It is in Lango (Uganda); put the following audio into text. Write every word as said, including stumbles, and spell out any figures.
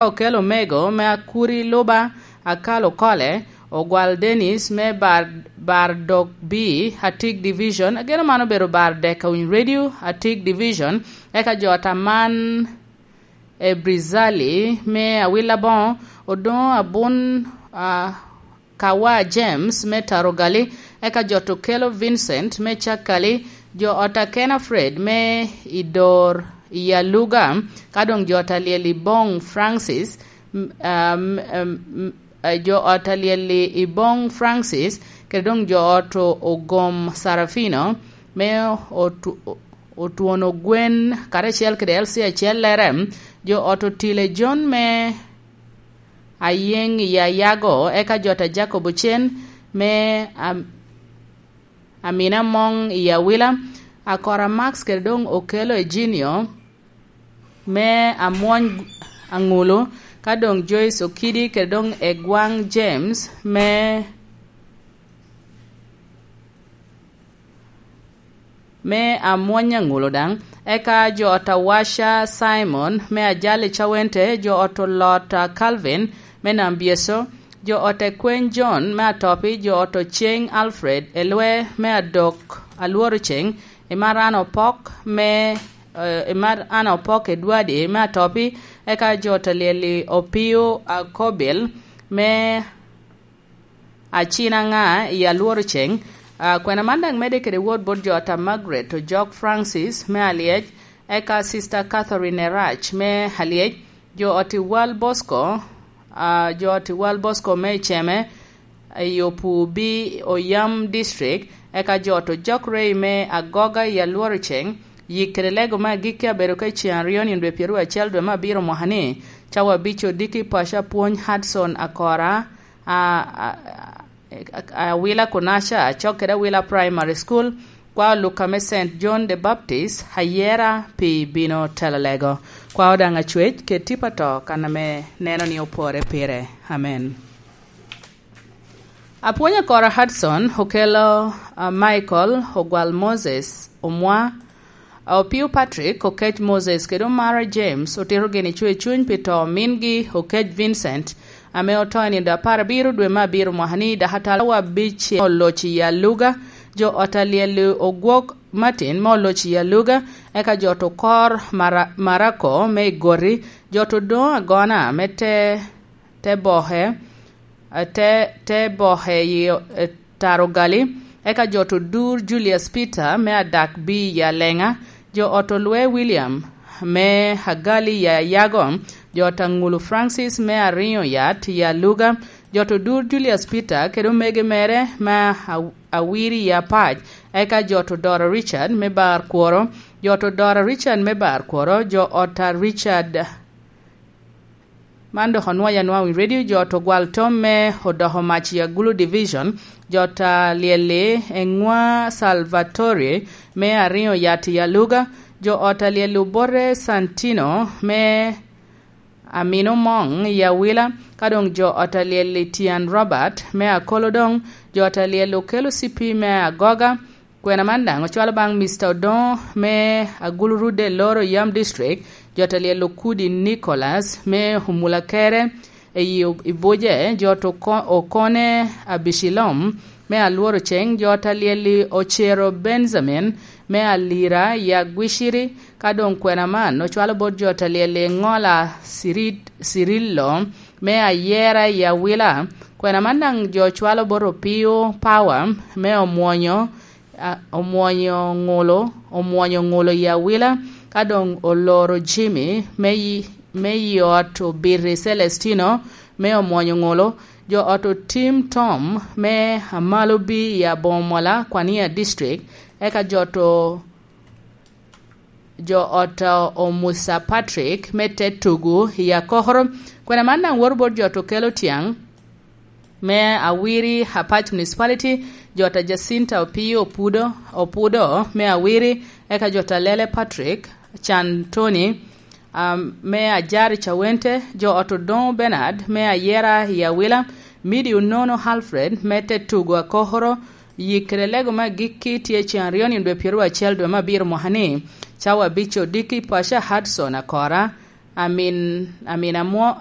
Okel Omego me Akuri Luba, Akalo Kole, Ogwal Dennis me Bar, Bar Dok B, Atik Division. Ageno man obedo Bar Dek Awiny Radio, Atik Division. Eka jo Ataman Ebrizali me Awila Boŋo, Odoŋo Abun, ah, Kawa James me Tarogali, eka jo Okello Vincent me Cakali, jo ot a Kena Fred me Idor i Aluga, ka doŋ jo ot a Lyel i Boŋ Francis, m-, am-, am-, m-, eh, jo ot a Lyel i Boŋ Francis, kede doŋ jo ot o-, Ogom Sarafino me Otu-, Otwono Gwen, karacel kede L C acellere, jo ot Otile John me Ayeŋ i Ayago, eka jo ta Jacob Ocen me Am-, Amina Moŋ i Awila, Akora Max kede doŋ Okello Eginio me Amwony Aŋulu, ka doŋ Joyce Okidi kede doŋ Egwaŋ James me me Amwony Aŋulu daŋ, eka jo ot a Washa Simon me Ajali Cawente, jo ot Olot a Calvin me Nambyeso, jo ot a Kweny John me Atopi, jo ot Oceng Alfred Elwe me Adok Alworo Ceng, Imaran Opok me, eh, Imaran Opok Edwadi me Atopi, eka jo ot a Lyeli Opio Akobil me Acina ŋa i Alworo Ceng. Ah, kwena man daŋ medde kede wot bot jo ot a Margaret Ojok Francis me Alyec, eka Sister Catherine Erach me Alyec, jo ot i Wal Bosco, ah, jo ot i Wal Bosco me Iceme, i Opubi, Oyam District, eka jo ot Ojok Rey me Agoga i Alworo Ceng. Yik kede lego me agikki abedo ka i ceŋ aryo nino dwe pyeraryo acel dwe me abiro mwaka ni, cawa abic odiki paco apwony Hudson Akora, a, a, a, Awila Kunaca, acok kede Awila Primary School, kwa Luka me Saint John the Baptist, ayera pi bino telo lego. Kwa Odaŋ Acwec, ked tipo ato kan ame neno ni opore pire. Amen. Apwony Akora Hudson, Okello, a, Michael, Ogwal Moses, Omwa, Opio Patrick, Okec Moses, kede Omara James otito gin icwe cuny pi to mingi, Okec Vincent, ame oto i nino apar abiro dwe me abiro mwaka ni, dok atalawa abic oloc i Aluga, jo ot a Lyel Ogwok Martin me oloc i Aluga, eka jo ot Okor Mara-, Marako me Igoti, jo ot Odoŋo Agona me te, te boke, te, te boke i, eh, Tarogali, eka jo ot Odur Julius Peter me Adak B i Aleŋa, jo ot Olwe William me Agali i Ayago, jo ot Aŋulu Francis me Ariŋo Yat i Aluga, jo ot Odur Julius Peter kede omege mere me A-, Awiri i Apac, eka jo ot Odoro Richard me Bar Kworo, jo ot Odoro Richard me Bar Kworo, jo ot a Richard Man dok onwoyo anwoŋo i radio, jo ot Ogwal Tom me Odoko Mac i Agulu Division, jo ot a Lyeli Eŋwa Salvatore me Ariŋo Yat i Aluga, jo ot a Lyeli Obote Santino me Amino Moŋ i Awila, ka doŋ jo ot a Lyeli Tian Robert me Akolodoŋ, jo ot a Lyeli Okelo Cipi me Agoga, Kwena man daŋ ocwalo baŋ Mister Odoŋo me Agulu Rudde Loro Yam District, jo ot a Lyel Okudi Nicholas me Omulakere, i, i Buje, jo ot Oko-, Okone Abicilom me Alworo Ceng, jo ot a Lyel Ocero Benjamin me Alira i Agwiciri, ka doŋ kwena man ocwalo bot jo ot a Lyel Ŋola Cirit-, Cirillo me Ayera i Awila. Kwena man daŋ jo cwalo bot Opio Power me Omwonyo, a, Omwonyo Ŋulo, Omwonyo Ŋulo i Awila, ka doŋ Oloro Jimmy me yi-, me yi ot Obiti Celestino me Omwonyo Ŋulo, jo ot Otim Tom me Amalobi i Aboŋo Mola, Kwania District, eka jo ot o-, jo ot, uh, Omusa Patrick me te tugu i Akokoro. Kwena man daŋ woto bot jo ot Okello Tyaŋ me Awiri, Apac Municipality, jo ot a Jacinta Opio Opudo, Opudo me Awiri, eka jo ot Alele Patrick Can Tony, um, me Ajari Cawente, jo ot Odoŋo Bernard me Ayera i Awila, Midi Onono Alfred me te tugu Akokoro, Yik kede lego me agikki tye ceŋ aryo nino dwe pyeraryo acel dwe me abiro mwaka ni, cawa abic odiki, Paca Hudson Akora, Amin, Amin Amwo-,